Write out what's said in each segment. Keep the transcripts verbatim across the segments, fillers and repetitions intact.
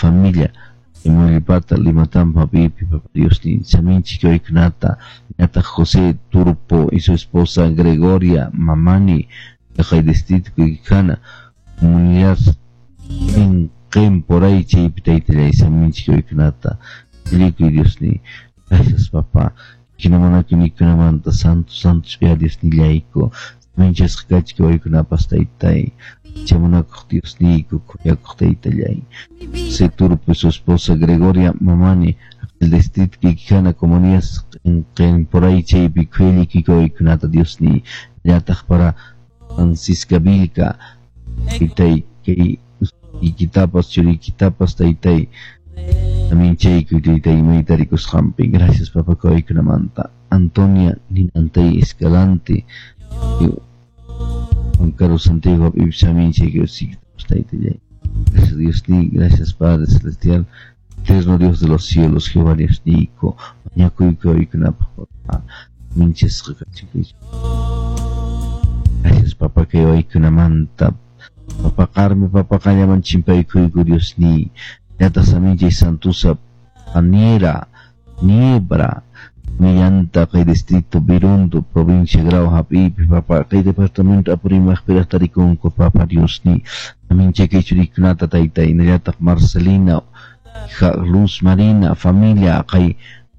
familia Imolipata Limatampa Pipi Papa Dios ni saminchik waykunata ñataq José Turpo y su esposa Gregoria Mamani kay distrito Quiquijana comunidad en por ahí chaypi taytallay saminchik waykunata Likuy Dios ni gracias papá kinamanakuynikunamanta santo santo ch'uya Dios nillayku saminchasqa kachik waykunapas taytay chamunakuq Dios niyku khuyakuq taytallay José Turpo y su esposa Gregoria Mamani el distrito Quiquijana comunidad en por ahí chaypi khuyallikuyku waykunata Dios ni llataq para Francisca Vilca taytay kay ikitapas churikitapas taytay saminchaykuy taytay maytarikusqanpi gracias papa kawaykunamanta Antonia Ninantay Escalante Juan Carlos Santiago saminchaykuy taytallay gracias Dios ni gracias Padre Celestial eterno Dios de los cielos Jehová Dios niyku mañakuyku waykunapaq papá minchasqa kachun gracias papa kay waykunamanta papa Carmen papa qallaman chimpaykuyku Dios ni ñataq saminchay Santusa Paniera Niebra Millanta kay distrito Birundo provincia Grau hap'ipi papa kay departamento Apurímac piraq tarikunku papa Dios ni saminchay kay churikunata taytay hinallataq Marcelina Luz Marina familia kay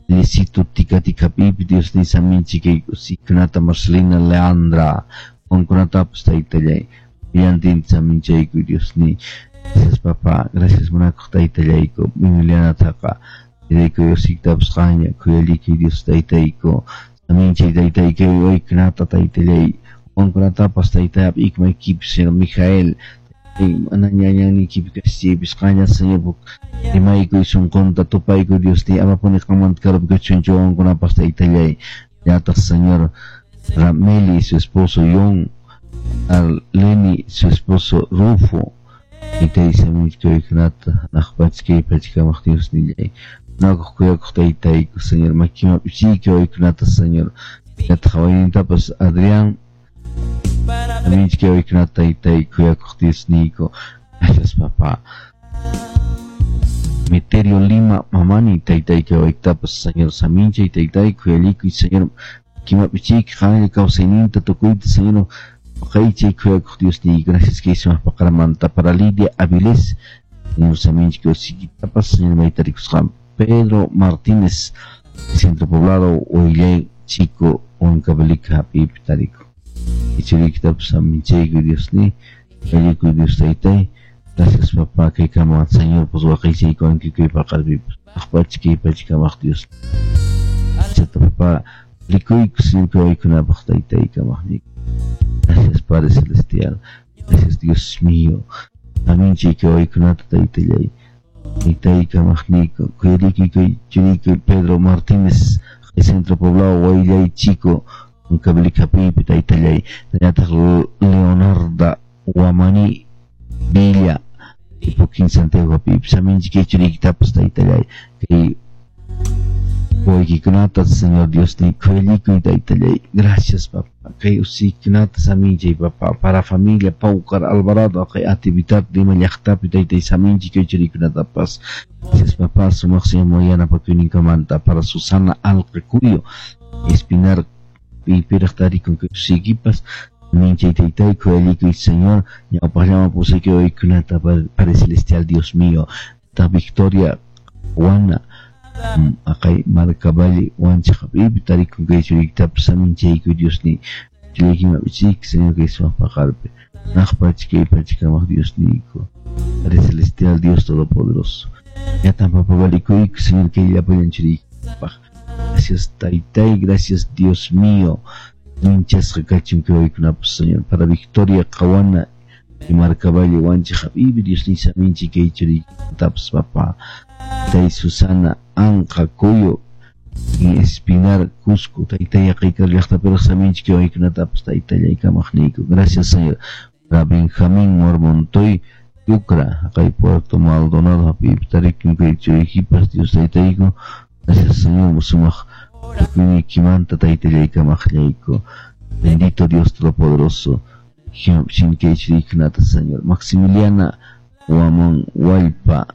Licito Tika Tika hap'ipi Dios ni saminchay kay usikunata Marcelina Leandra qankunatapas taytallay Villantin saminchayku Dios ni gracias papá gracias munakuq taytallayku Emilianataqa Taytayku Diosiktapas qaña khuyallikuy Dios taytayku saminchay taytay kay waykunata taytallay qankunatapas taytayap ikmaykipi Señor Mijael mana ñañanniykipi kashchaypis qaña Señor rimaykuy sunqunta tupaykuy Dios ni amapuni qanmanta karupi kachunchu wawankunapas taytallay llataq Señor Rameli y su esposo John Arleni su esposo Rufo taytay saminchik waykunata hanaq kay pachakamaq Dios nillay munakuq kuyakuq taytayku Señor makiman p'ichiyki waykunata Señor llataq waynintapas Adrián saminchik waykunata taytay kuyakuq Dios niyku gracias papá Meterio Lima mamani taytayki waytapas Señor saminchay taytay khuyallikuy Señor makiman p'ichiyki qanlla kawsayninta tukuyta Señor waqaychay khuyakuq Dios niyku gracias kay sumaq paqaramanta para Lidia Avilés Señor saminchik usikitapas Señor maytarikusqanpi Pedro Martínez Centro Poblado Huillay Chico Huancavelica hap'ipi tarikun ichuriykitapas saminchaykuy Dios ni khuyallikuy Dios taytay gracias papá kay kama Señor pues waqaychaykuwanki kay paqarpipas aqpacha kay pachakamaq Dios chata papá rikuyku Señor kay waykunapaq taytay kamaqniyku gracias Padre Celestial gracias Dios mío saminchay kay waykunata taytallay taytay kamaqniyku khuyallikuy kay churiyku Pedro Martínez Centro Poblado Huillay Chico Huancavelica hap'ipi taytallay hinallataq Leonarda Huamani Villa Ipuquín Santiago hap'ipi saminchik kay churiykitapas taytallay kay wawaykikunata Señor Dios ni khuyallikuy taytallay gracias papá kay usikunata saminchay papá para familia Paucar Alvarado kay actividad Lima llaqtapi taytay saminchik kay churikunatapas gracias papá sumaq Señor yanapakuyninkumanta para Susana Alqacuyo Espinar piraq tarikun kay usikipas saminchay taytay khuyallikuy Señor ñawpaqllaman pusayki waykunata Padre Celestial Dios mío ta Victoria Juana aqay Marcavalle Wanchaq hap'ipi tarikun kay churiykitapas saminchaykuy Dios ni churiykiman p'ichiyki Señor kay sumaq paqarpi hanaq kay pachakamaq Dios niyku Padre Celestial Dios Todopoderoso llatan papa valikuyku Señor kay llapallan churiykipaq gracias taytay gracias Dios mío minchasqa kachun kay waykunapas Señor para Victoria Qawana y Marcavalle Wanchaq hap'ipi Dios ni saminchik kay churiykitapas papá taytay Susana Anqa Cuyo y Espinar Cusco taytay aqaykar llaqtapiraq saminchik kay waykunatapas taytallay kamaqniyku gracias Señor para Benjamín Mormontoy Yucra aqay Puerto Maldonado hap'ipi tarikun kay churiykipas Dios taytayku gracias Señor sumaq tukuyniykimanta taytallay kamaqllayku bendito Dios Todopoderoso kay churiykunata Señor Maximiliana Huamán Huallpa